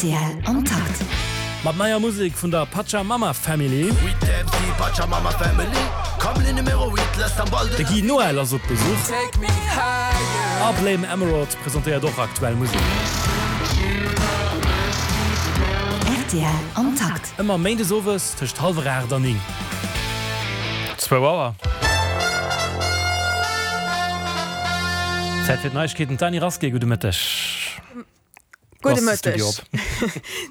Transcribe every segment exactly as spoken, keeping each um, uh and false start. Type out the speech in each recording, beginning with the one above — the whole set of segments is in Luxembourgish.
Rtl am Takt. Mat neier Musek vun der Pachamama Family. De Guy Noel ass op Besuch. A Blame Emerald presentéiert och aktuell Musek. Rtl am Takt. Ëmmer méindes owes tëscht hallwer aacht an néng. Zwou Auer. Zäit fir d'Neiegkeeten, d'Dany Rasqué, gudde Mëtteg. Gudde Mëtteg.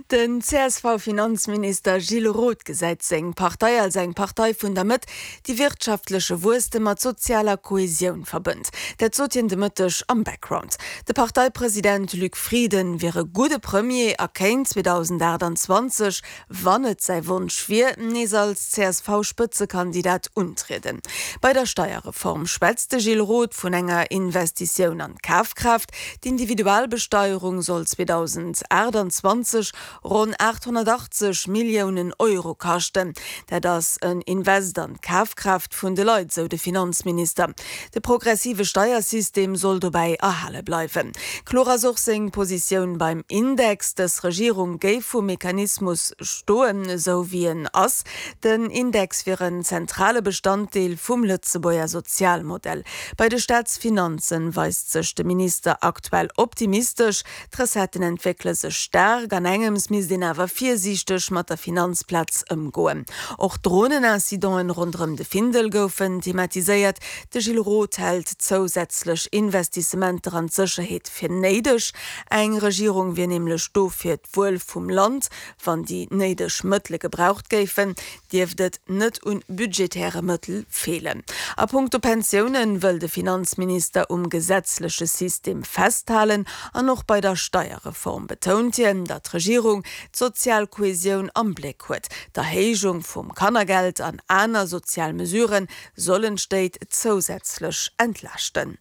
Den C S V-Finanzminister Gilles Roth gesäit seng Partei als eng Partei vun der Mëtt, déi wirtschaftleche Wuesstem mat sozialer Kohesioun verbënnt. Dat sot hien de Mëtteg am Background. De Parteipresident Luc Frieden wier e gudde Premier a kéint zweedausendaachtanzwanzeg, wann et säi Wonsch wier, nees als C S V-Spëtzekandidat untrieden. Bei der Steierreform schwätzt de Gilles Roth vun enger Investitioun an d'Kafkraaft. D'Individualbesteierung soll zweedausendaachtanzwanzeg ronn aathonnertachtzeg Milliounen Euro kaschten. Dat ass en Invest an d'Kafkraaft vun de Leit, sou de Finanzminister. De progressive Steiersystem soll dobäi erhale bleiwen. Kloer ass och seng Positioun beim Index. Dës Regierung géif vum Mechanismus stoen, esou wéi en ass. Den Index wier en zentrale Bestanddeel vum Lëtzebuerger Sozialmodell. Bei de Staatsfinanzen weist sech de Minister aktuell optimistesch. D'Recetten entwéckele sech staark, an engems misst een awer virsiichteg mat der Finanzplaz ëmgoen. Och Dronenincidenten ronderëm de Findel goufen thematiséiert. De Gilles Roth hält zousätzlech Investissementer an d'Sécherheet fir néideg. Eng Regierung wier nämlech do fir d'Wuel vum Land. Wann déi néideg Mëttele gebraucht géifen, dierft et net un budgetäre Mëttel feelen. A punkto Pensiounen wëll de Finanzminister um gesetzleche System festhalen an och bei der Steierreform betount hien, datt d'Regierung d'sozial Kohesioun am Bléck huet. D'Erhéijung vum Kannergeld an aner sozial Mesurë sollen d'Stéit zousätzlech entlaaschten.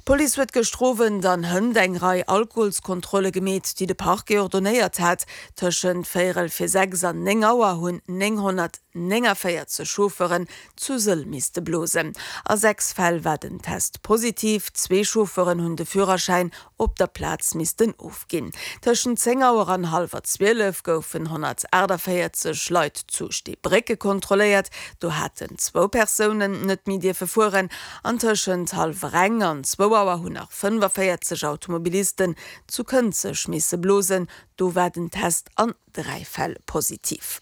D'Police huet gëschter Owend an hënt eng Rei Alkoholskontrolle gemeet, déi de Parquet ordonéiert hat. Tëschent véierel fir sechs an néng Auer hunn nénghonnertnéngavéierzeg Chauffeuren zu Sëll misste blosen. A sechs Fäll war den Test positiv, zwee Chauffeuren hunn de Führerschäin op der Plaz missten ofginn. Tëschent zéng Auer an hallwer zwielef goufen honnertaachtavéierzeg Leit zu Steebrécke kontrolléiert, do haten zwou Persounen net méi dierfe fueren. An tëschent hallwer eng an zwou Auer hunn nach fënnfavéierzeg Automobilisten zu Kënzeg misse blosen, do war den Test an dräi Fäll positiv.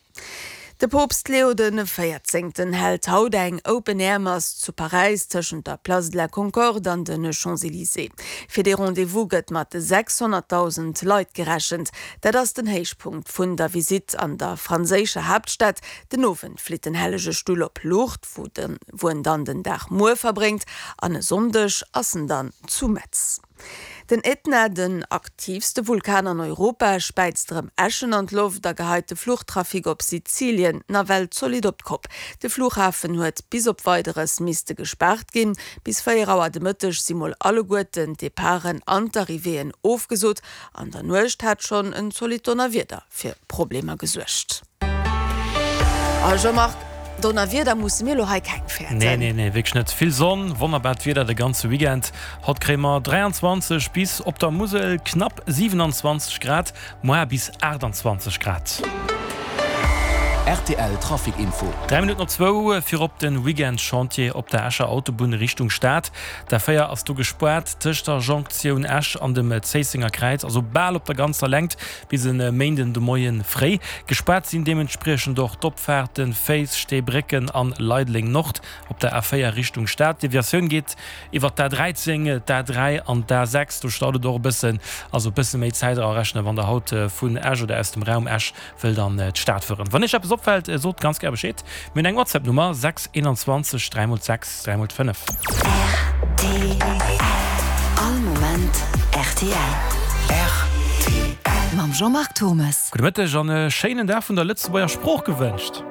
De Poopst Leo de Véierzéngten hält haut eng Open-Air-Mass zu Paräis tëschent der Place de la Concorde an de Champs-Élysées. Fir dee Rendez-vous gëtt mat sechshonnertdausend Leit gerechent. Dat ass den Héichpunkt vun der Visitt an der franséischer Haaptstad. Den Owend flitt den Hellege Stull op Lourdes, wou en dann den Dag muer verbréngt, an e Sonndeg ass en dann zu Metz. Den Ätna, den aktiivste Vulkan an Europa, späizt erëm Äschen an d'Loft a geheit de Fluchtrafic op Sizilien nawell zolidd op d'Kopp. De Flughafen huet bis op Weideres misste gespaart ginn. Bis véier Auer de Mëtteg si mol alleguerten d'Departen an d'Arrivéeën ofgesot. An der Nuecht hat schonn en zolidd Donnerwieder fir Problemer gesuergt. A Jean-Marc, Donnerwieder musse mir elo hei keng fäerten. Nee, nee, nee, wierklech net. Vill Sonn, wonnerbart Wieder de ganze Weekend. Haut kréie mer dräianzwanzeg bis op der Musel knapp siwenanzwanzeg Grad, muar bis aachtanzwanzeg Grad. Rtl Trafic Info. Dräi Minutten op zwou, Virop de Weekend-Chantier op der Escher Autobunn Richtung Stad. D'A véier ass do gespaart tëscht der Jonktioun Esch an dem Zéissenger Kräiz, also bal op der ganzer Längt bis e Méinden de Moie fréi. Gespaart sinn deementspriechend och d'Opfaarten Féiz, Steebrécken an Leideleng Nord op der A véier Richtung Stad. D'Deviatioun geet iwwer d'A dräizéng, d'A dräi an d'A sechs. Do staut et och e bëssen, also e bësse méi Zäit erarechnen, wann der haut vun Esch oder aus dem Raum Esch wëllt an d'Stad fueren. Wann Iech eppes opfält, sot ganz gär Bescheed. Mir hunn eng WhatsApp-Nummer, sechs einundzwanzeg dräi mol sechs dräi mol fënnef. Rtl, All Moment rtl. Rtl. Mam Jean-Marc Thommes. Gudde Mëtteg an e schéinen Dag vun der Lëtzebuerger Sprooch gewënscht.